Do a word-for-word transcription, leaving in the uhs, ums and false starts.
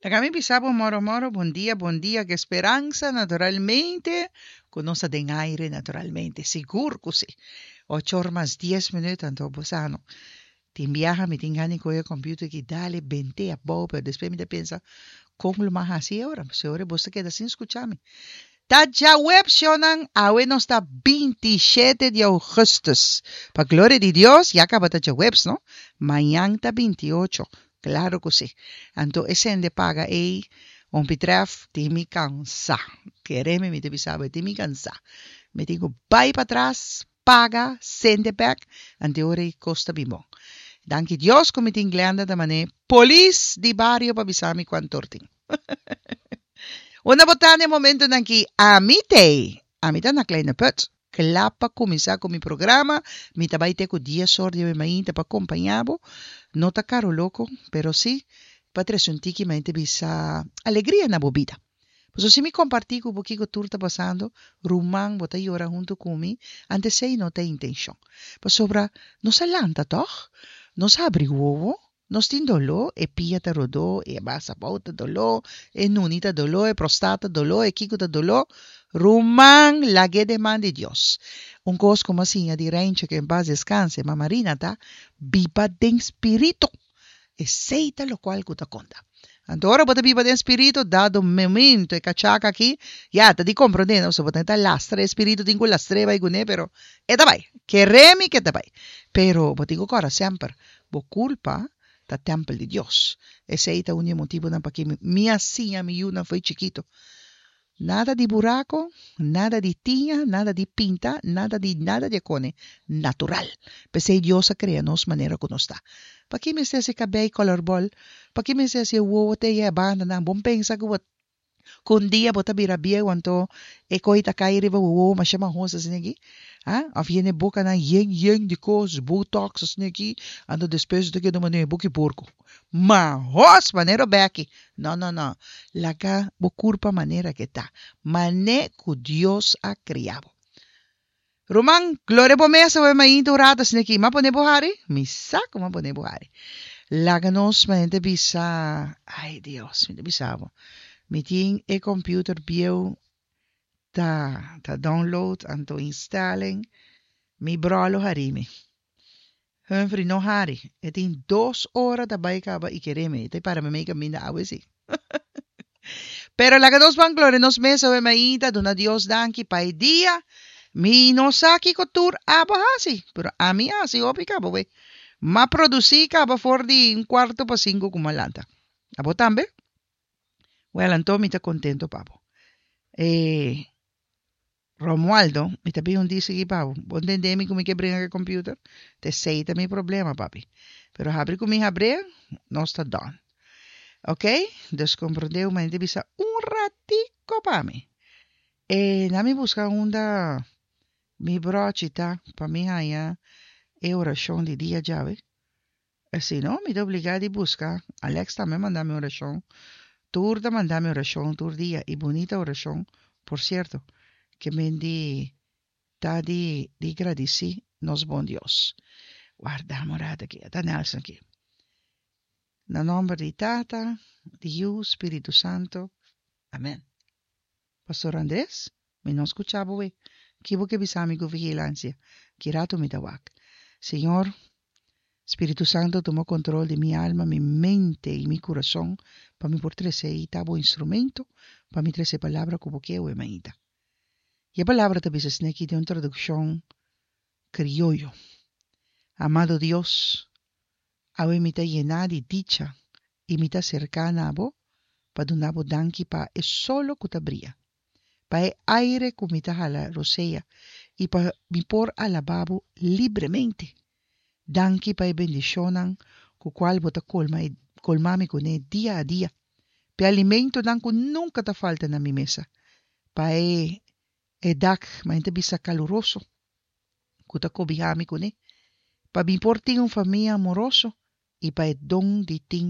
Laga mi bisa bo moro moro bon dia bon dia ku speransa naturalmente ku nos ta den aire naturalmente sigur ku si ocho or mas dies minuut anto bo sa no tin biaha mi tin gana di kohe e computer aki dale bente abou pero despues mi ta pensa kon lo mas hasi e ora pasobra e ora bo ta keda sin skucha mi ta djaweps shownan awe nos ta binti shete di augustus pa gloria di Dios ya kaba ta djaweps no mañan ta binti ocho Claro cu si. Anto e sende paga ey un pitref tin mi cansa. Kere mi, mi ta bisa bo, e tin mi cansa. Mi tin cu bay patras, paga, sende bek, anto e ora ey cos ta bin bon. Danki Dios cu mi tin Glenda ta mane polis di bario pa bisa mi cuantor tin. Unda bo ta na e momentonan aki? Ami t'ey. Ami ta na Kleine Put. Kla pa kuminsá ku mi programa. Mi ta bai te ku dies or di awe mainta pa kompañá bo. No ta karo loko, pero sí pa trese un tiki mainta bisa alegria na bo bida. Pasobra si mi kompartí ku bo kiko tur ta pasando, ruman bo ta yora huntu ku mi, ante esei no ta e intenshon. Pasobra nos a lanta tòg? Nos a habri wowo? Nos tin doló, e pia ta rodó, e bas abou ta doló, e nuni ta doló, e prostat ta doló, e kiko ta doló. Ruman, lag'é den man di Dios. Un kos ku mi a siña di Reinche, ke en pas deskanse, Mama Rina, ta, Biba den spiritu. Esei ta lokual ku ta konta. Anto ora bo ta biba den spiritu, dado momento e kachaka aki, ya, ta di komprondé, no? Pasobra bo ta lastra, e spiritu tin ku lastr'é bai kuné, pero e ta bai. Keré mi ke ta bai. Pero bo tin ku kòrda semper, Bo kulpa ta tèmpel di Dios. Esei ta un di e motibunan pakí mi a siña mi yunan fo'i chikitu. Nada di buraku, nada di tiña, nada di pinta, nada di nada di e kone. Natural. P'esei Dios a krea nos manera ku nos ta. Pakí mester hasi kabei kòlòr bòl? Pakí mester hasi e wowo te e bandanan? Bon pensa ku bo Ku un dia bo ta bira bieu anto e koi ta kai riba bo wowo masha mahos asina aki, ha? Of yene bokanan yen yen di kos, botox asina aki, anto despues bo ta keda manera boki porko. Mahos manera Becky! No no no, laga bo kurpa manera ke ta, mane ku Dios a kria bo. Ruman, gloria bo mes awe mainta un rato asina aki. M'a pone bo hari? Mi sa ku m'a pone bo hari. Laga nos mainta bisa, ay Dios, mi ta bisa bo, mi tin e computer bieu ta ta download anto installing, mi bro lo hari mi. Humphrey no hari, e tin dos ora ta bai kaba i kere mi, e ta para mi mei kaminda awe si. Pero laga nos ban gloria nos mes awe mainta, duna Dios danki pa e dia. Mi no sa kiko tur abo hasi, pero ami a hasi hopi kaba we. M'a produsí kaba for di un kuarto pa sinku ku m'a lanta. Abo tambe? Wèl, anto mi ta kontento pa bo. E Romualdo, mi ta bin un dia sigui pa bo. Bo ntendé mi ku mi ke bringa ku e computer? Ta esei ta mi problema, papi. Pero habri ku mi habr'é, nos ta done. Ok, dus komprondé un manera di bisa un ratiko pa mi. E na mi buska unda mi brochi ta pa mi haña e orashon di dia djawe. E si no, mi ta obligá di buska. Alex tambe manda mi orashon. Tur ta manda mi orashon tur dia i bunita orashon, por sierto. Ke men di ta di di gradisí nos bon Dios. Warda un rato aki, ta Nelson aki. Na nòmber di Tata, di Yu, Spiritu Santu. Amen. Pastor Andres, mi no skucha bo we. Ki bo ke bisa mi ku vigilansia? Ki ratu mi ta wak. Señor, Spiritu Santu tuma kontrol di mi alma, mi mente i mi kurason pa mi por trese i ta bo instrumento pa mi trese e palabra ku bo ke awe mainta. I e palabra ta bisa esneki den un tradukshon krioyo. Amado Dios, Awe mi ta yená di dicha i mi ta serká na bo pa duna bo danki pa e solo ku ta bria, pa e aire ku mi ta hala rosea i pa mi por alabá bo libremente. Danki pa e bendishonnan ku kual bo ta kolma e kolma mi kuné dia a dia, pa e alimentonan ku nunka ta falta na mi mesa, pa e e dak, ma hende ta bisa kaluroso, ku ta kobihá mi kuné, pa mi por tin un famia amoroso i pa e don di tin